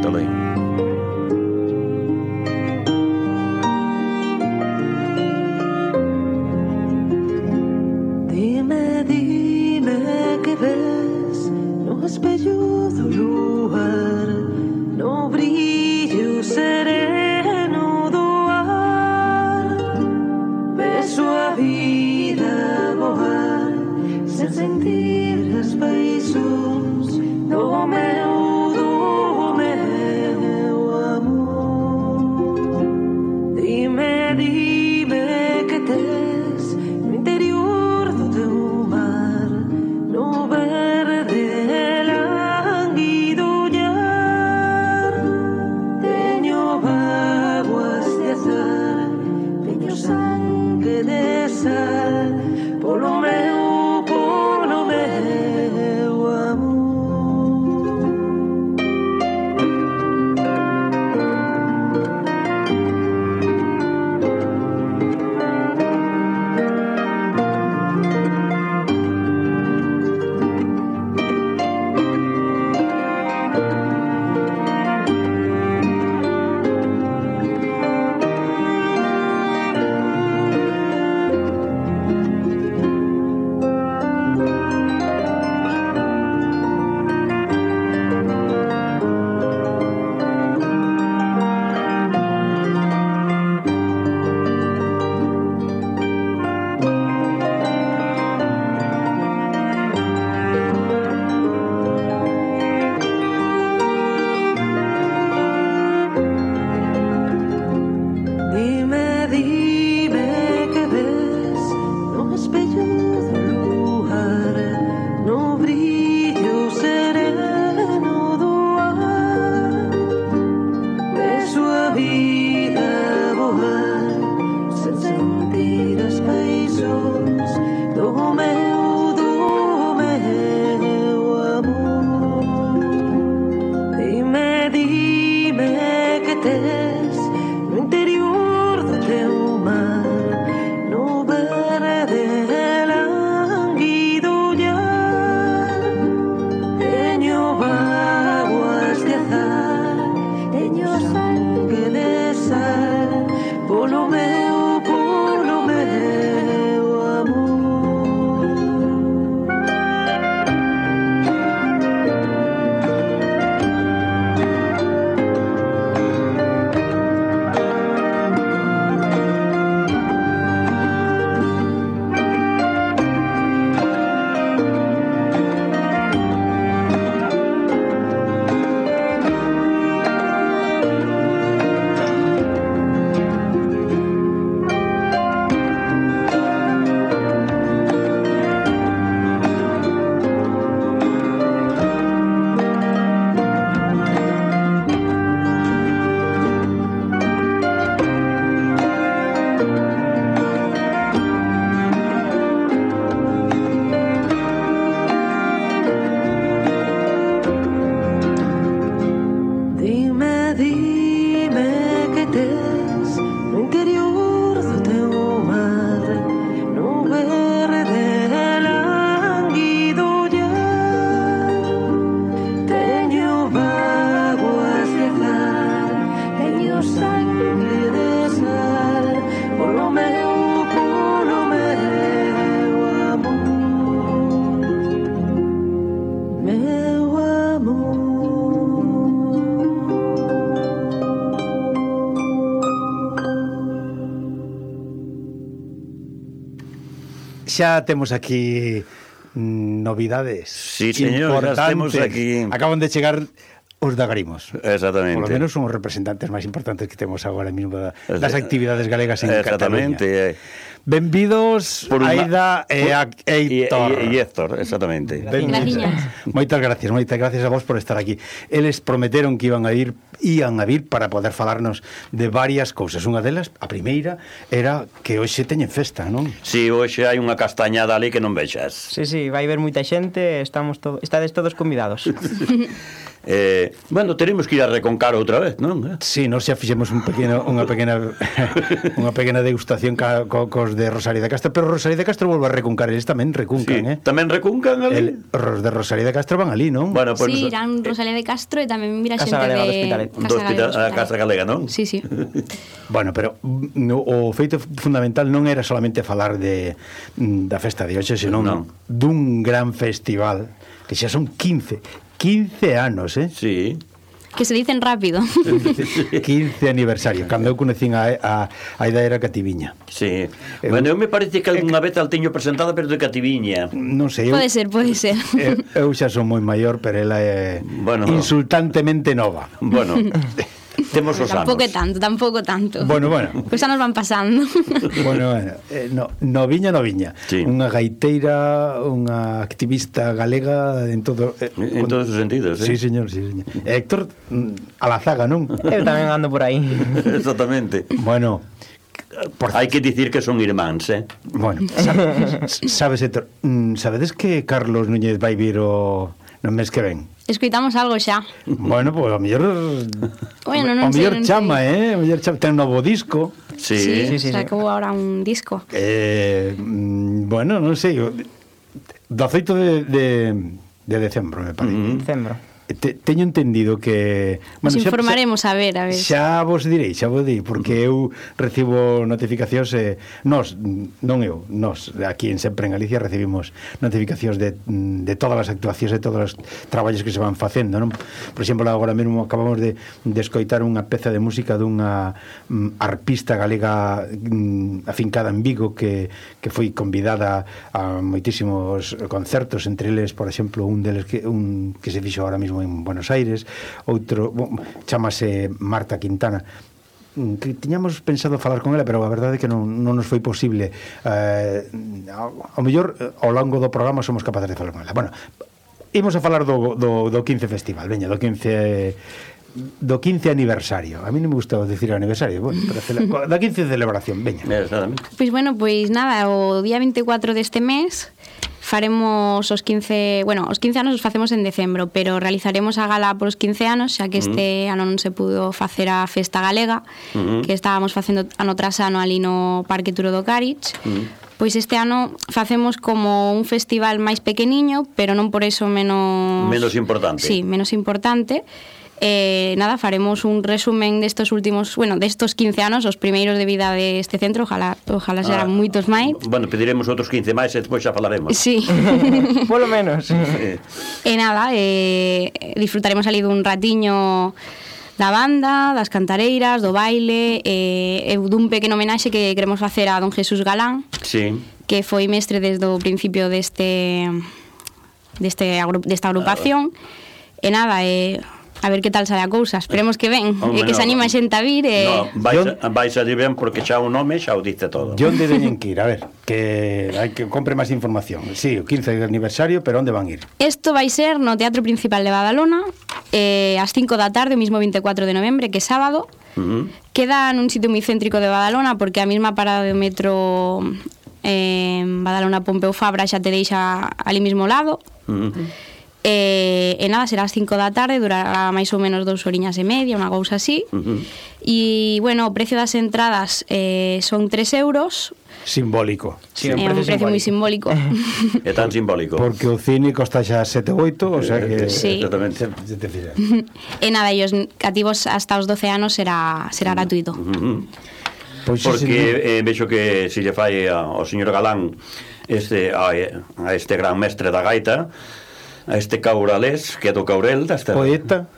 loín. Dime que ves no espello do luar, no brillo sereno do ar. Ves a vida voar sen sentir as paixóns do meu amor. Dime que tes no interior do teu mar, no verde lánguido ollar. Teño vaguas de azar, teño sangue de sal, polo meu amor. Xa temos aquí novidades. Sí, señor, xa temos aquí. Acaban de chegar os da Grimos. Exactamente. Por lo menos son os representantes máis importantes que temos agora mesmo das actividades galegas en Cataluña. Exactamente. Benvidos, Aida e Héctor. E Héctor, exactamente. Moitas gracias a vos por estar aquí. Eles prometeron que iban a vir para poder falarnos de varias cousas. Unha delas, a primeira, era que hoxe teñen festa, non? Si, hoxe hai unha castañada ali que non vexas. Sí, vai haber moita xente, estades todos convidados. Bueno, teremos que ir a Reconcar outra vez, non? Sí, nós xa fixemos unha pequena unha pequena degustación cos de Rosalía de Castro, pero Rosalía de Castro volve a recuncar, eles tamén recuncan, Tamén recuncan ali? Os de Rosalía de Castro van ali, non? Bueno, pues, Sí, irán Rosalía de Castro e tamén mira Casa xente Galega de do Hospitalet. a Casa Galega, non? Sí, sí. Bueno, pero o feito fundamental non era solamente falar da festa de hoxe, senón dun gran festival que xa son 15 anos, Sí. Que se dicen rápido. 15 aniversario. Cando eu conecín a idea era Cativiña. Sí. Bueno, eu me parece que algunha vez al teño presentada, pero de Cativiña. Non sei, Pode ser. eu xa son moi maior, pero ela é insultantemente nova. Bueno, temos os anos. Tampouco tanto. Bueno. Pois anos van pasando. Bueno, noviña. Sí. Unha gaiteira, unha activista galega en todos os sentidos, Sí, señor. Héctor Alazaga, non? Eu tamén ando por aí. Exactamente. Bueno, hai que dicir que son irmáns, Bueno, sabes, Héctor, sabedes que Carlos Núñez vai vir no mes que ven? Escoitamos algo xa. Bueno, pois a mellor non sei, chama, o mellor chama, ten un novo disco. Sí. Sacou ahora un disco. Bueno, non sei, do 18 de decembro, me parece. Decembro. Teño entendido que... Nos informaremos a ver. Xa vos direi, porque eu recibo notificacións, nós aquí sempre en Galicia recibimos notificacións de todas as actuacións, de todos os traballos que se van facendo, non? Por exemplo, agora mesmo acabamos de escoitar unha peza de música dunha arpista galega afincada en Vigo que foi convidada a moitísimos concertos, entre eles, por exemplo, un que se fixo ahora mesmo en Buenos Aires, outro chamase Marta Quintana, que tiñamos pensado falar con ela, pero a verdade é que non nos foi posible. Ao mellor ao longo do programa somos capaces de falar con ela. Bueno, imos a falar do 15 festival, veña, do 15 aniversario. A mí non me gusta decir aniversario, bueno, pero da 15 celebración, veña. Pois nada, o día 24 deste mes faremos os 15 anos os facemos en decembro, pero realizaremos a gala polos 15 anos, xa que este ano non se pudo facer a festa galega, que estábamos facendo ano tras ano ali no Parque Turo do Carich. Pois este ano facemos como un festival máis pequeniño, pero non por eso menos importante. Sí, menos importante. Nada, faremos un resumen destos 15 anos, os primeiros de vida deste centro, ojalá serán moitos máis. Bueno, pediremos outros 15 máis e despois xa falaremos. Sí. Polo menos. E nada, disfrutaremos ali dun ratiño da banda, das cantareiras, do baile, e dun pequeno homenaxe que queremos facer a don Jesús Galán, que foi mestre desde o principio desta agrupación. E nada, a ver que tal sale a cousa. Esperemos que ven, e que se anima a xente a vir. Vais a ir ben, porque xa o nome xa o dice todo. E onde teñen que ir? A ver, que hai que compre máis información. Sí, o 15 aniversario, pero onde van ir? Isto vai ser no Teatro Principal de Badalona, ás 5 da tarde, o mismo 24 de novembre, que é sábado. Queda nun sitio moi céntrico de Badalona, porque a mesma parada do metro Badalona Pompeu Fabra xa te deixa ali mismo lado. E nada, será ás 5 da tarde, durará máis ou menos 2 horiñas e media, unha cousa así. E, bueno, o precio das entradas son 3 euros. Simbólico. Sí, un precio moi simbólico. É tan simbólico. Porque o cine costa xa 7 ou 8, o sea que... Sí. Exactamente. E nada, e os cativos hasta os 12 anos será gratuito. Porque vexo que se lle fai ao señor Galán a este gran mestre da gaita, a este cauralés, que é do Caurel, poeta,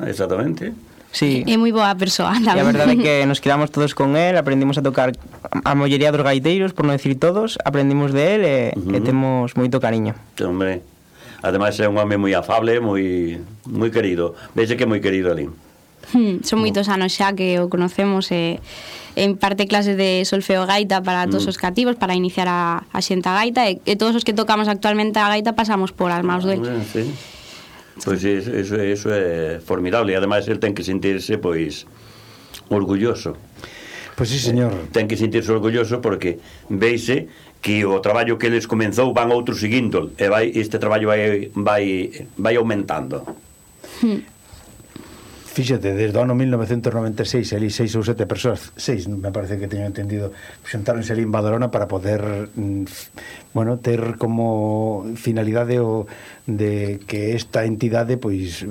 exactamente. Sí. É moi boa persoa tamén. E a verdade é que nos quedamos todos con él, aprendimos a tocar a mollería dos gaiteiros, por non decir todos, aprendimos de él e temos moito cariño. Hombre, ademais é un home moi afable, moi querido. Vexe que é moi querido ali. Son moitos anos xa que o conocemos e en parte clases de solfeo gaita para todos os cativos, para iniciar a xente a gaita, e todos os que tocamos actualmente a gaita pasamos por as maus del. Sí. Pois eso é formidable, e ademais el ten que sentirse pois orgulloso. Pois sí, señor. Ten que sentirse orgulloso porque veise que o traballo que eles comenzou van outros seguindo e este traballo vai aumentando. Fíxate, desde o ano 1996 ali 6 ou 7 persoas, 6 me parece que teño entendido, xuntáronse ali en Badalona para poder ter como finalidade de que esta entidade pois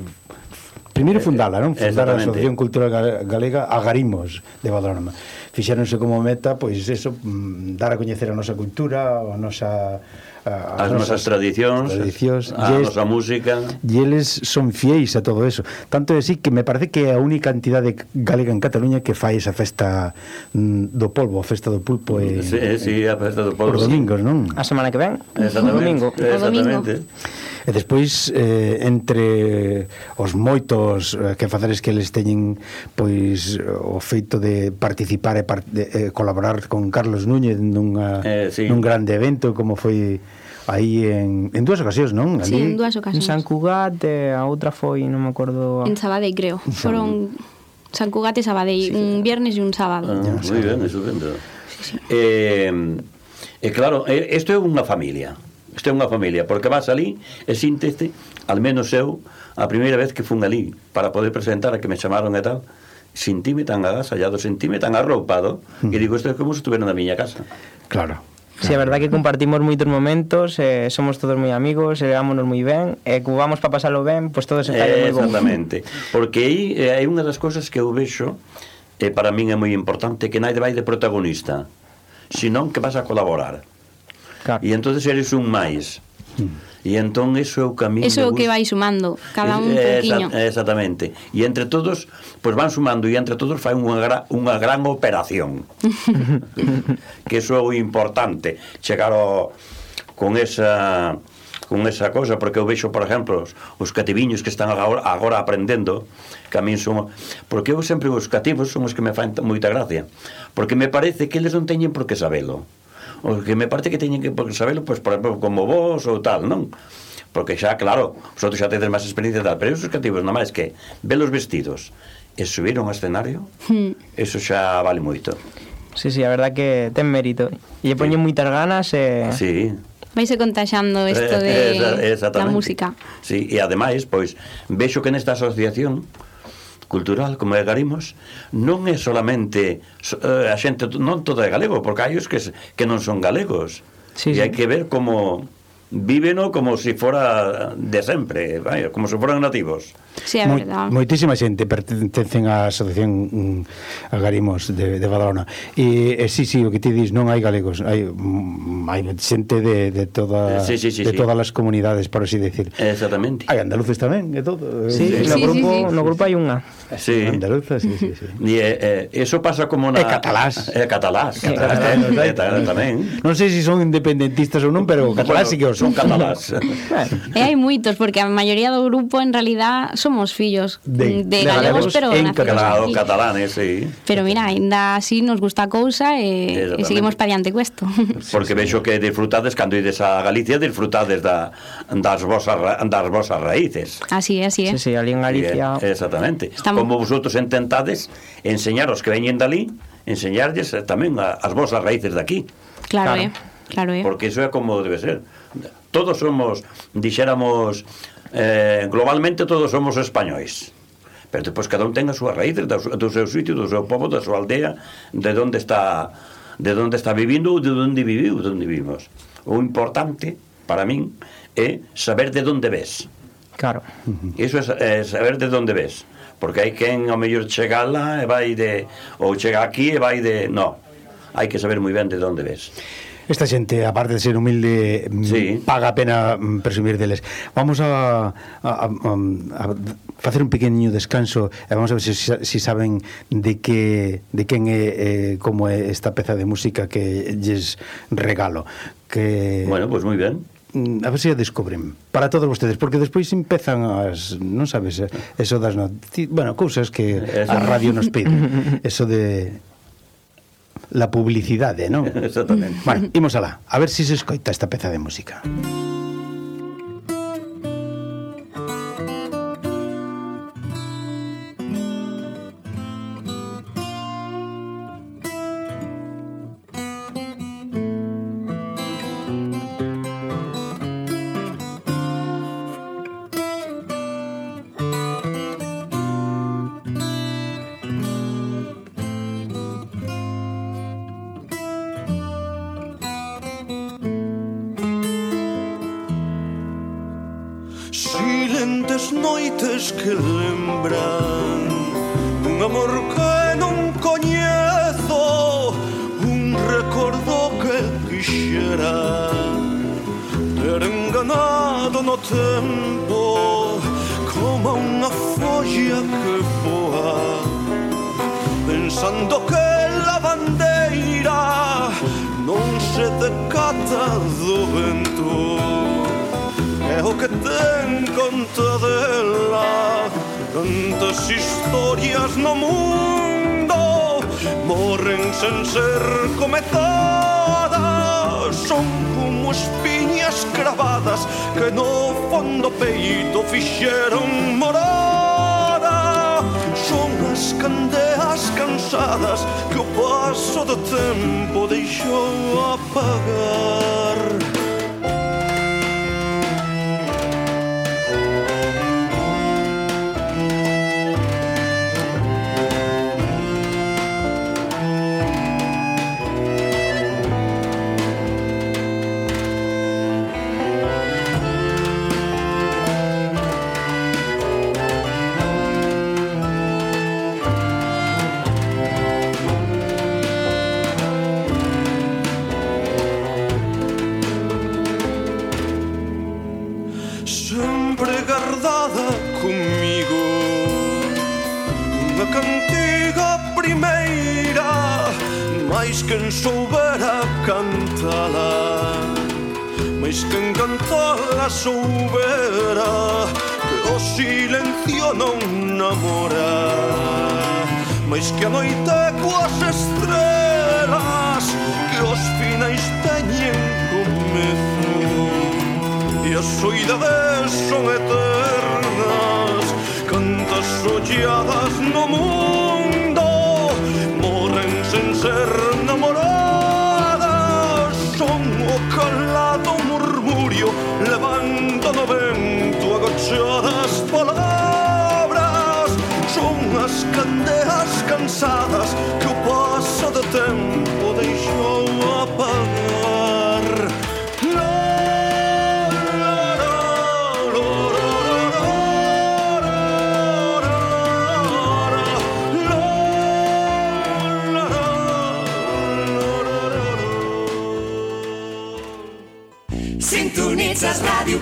primeiro fundala, non? Fundar a Asociación Cultural Galega Agarimos de Badalona. Fixéronse como meta, pois eso, dar a coñecer a nosa cultura, a nosa as nosas tradicións, a nosa música. E eles son fiéis a todo eso. Tanto é así que me parece que é a única entidade galega en Cataluña que fai esa festa do polvo, a festa do pulpo a festa do polvo por domingos, non? A semana que ven, o domingo. Exactamente. E despois entre os moitos quefaceres que eles teñen pois o feito de participar e colaborar con Carlos Núñez nun grande evento como foi aí en dúas ocasións, non? Sí, en dúas ocasións. En San Cugat, a outra foi, non me acordo. En Sabadell, creo. Foron San Cugat e Sabadell, un viernes e un sábado. Moi ben, estupendo. Claro, isto é unha familia. Isto é unha familia, porque vas ali e síntete, al menos eu, a primeira vez que fun ali para poder presentar a que me chamaron e tal, sentime tan agasallado, sentime tan arroupado, que digo, isto é como se estuvera na miña casa. Claro. Sí, a verdad que compartimos moitos momentos, somos todos moi amigos, levámonos moi ben, e como vamos para pasalo ben, pois todo se fai moi bon. Exactamente, porque aí hai unha das cousas que eu vexo, para min é moi importante, que naide vai de protagonista, senón que vas a colaborar. Claro. E entonces eres un máis. E entón iso é o camiño. Eso é o que vai sumando, cada un pouquiño. Exactamente. E entre todos, pois van sumando e entre todos fai unha gran operación. Que iso é o importante, chegar con esa cosa, porque eu vexo, por exemplo, os cativiños que están agora aprendendo, que a min son, porque eu sempre os cativos son os que me fan moita gracia, porque me parece que eles non teñen por que sabelo. O que me parece que teñen que sabelo, pois, por exemplo, como vos ou tal, non? Porque xa, claro, vosotros xa tedes máis experiencia tal, pero esos cativos, nada máis que velos vestidos e subiron ao escenario, eso xa vale moito. Sí, a verdad que ten mérito. E poñen moitas ganas e... Sí. Vaise contaxando isto de la música. Sí, e ademais, pois, vexo que nesta asociación cultural, como é Agarimos, non é solamente a xente, non todo é galego, porque hai os que non son galegos. E hai que ver como víveno como se fora de sempre, como se foran nativos. Sí, é verdade. Moitísima xente pertencen á Asociación Agarimos de Badalona. E sí, o que ti dis, non hai galegos, hai xente de todas as comunidades, por así decir. Exactamente. Hai andaluces tamén, e todo. No grupo hai unha. Sí. Andaluza, sí. E eso pasa como na... catalás. Catalás tamén. Non sei se son independentistas ou non, pero catalás sí que son catalás. E hai moitos, porque a maioría do grupo en realidad somos fillos de galegos, pero nacidos catalanes, sí. Pero mira, ainda así nos gusta a cousa e seguimos para diante cuesto. Porque vexo que disfrutades cando ides a Galicia, disfrutades das vosas raíces. Así é. Sí, ali en Galicia. Exactamente. Como vosotros intentades enseñar os que veñen dali, enseñarlles tamén as vosas raíces daqui. Claro. Porque iso é como debe ser. Todos somos, dixéramos, globalmente todos somos españois, pero depois cada un ten as súas raíces do seu sitio, do seu povo, da súa aldea, de onde está vivindo ou de onde viviu, de onde vivimos. O importante para min é saber de onde ves. Claro. Iso é saber de onde ves, porque hai quen ao mellor chega lá e vai ou chega aquí e vai no, hai que saber moi ben de onde ves. Esta xente, aparte de ser humilde, paga a pena presumir deles. Vamos a facer un pequeniño descanso e vamos a ver se saben de quen é como é esta peza de música que lles regalo. Bueno, pois moi ben. A ver se a descubren para todos vostedes, porque despois empezan non sabes, eso das cousas que a radio nos pide, eso de la publicidade, non? Exactamente. Bueno, imos alá, a ver se escoita esta peza de música. noites que lembran un amor que non coñezo, un recordo que quixera ter enganado no tempo, como unha folla que voa, pensando que la bandeira non se decata do vento. É o que ten conta dela, tantas historias no mundo morren sen ser cometadas, son como espiñas cravadas que no fondo peito fixeron morada. Son as candeas cansadas que o paso do tempo deixou apagar. Quen soubera cantala, mais quen cantala soubera que o silencio non namora, mais que a noite coas estrelas, que os finais teñen comezo e as soidades son eternas. Cantas olladas no mundo morren sen ser namoradas, son o calado murmurio levando no vento agochadas palabras, son as candeas cansadas que o paso do tempo deixou apagar. Sintonitzes Ràdio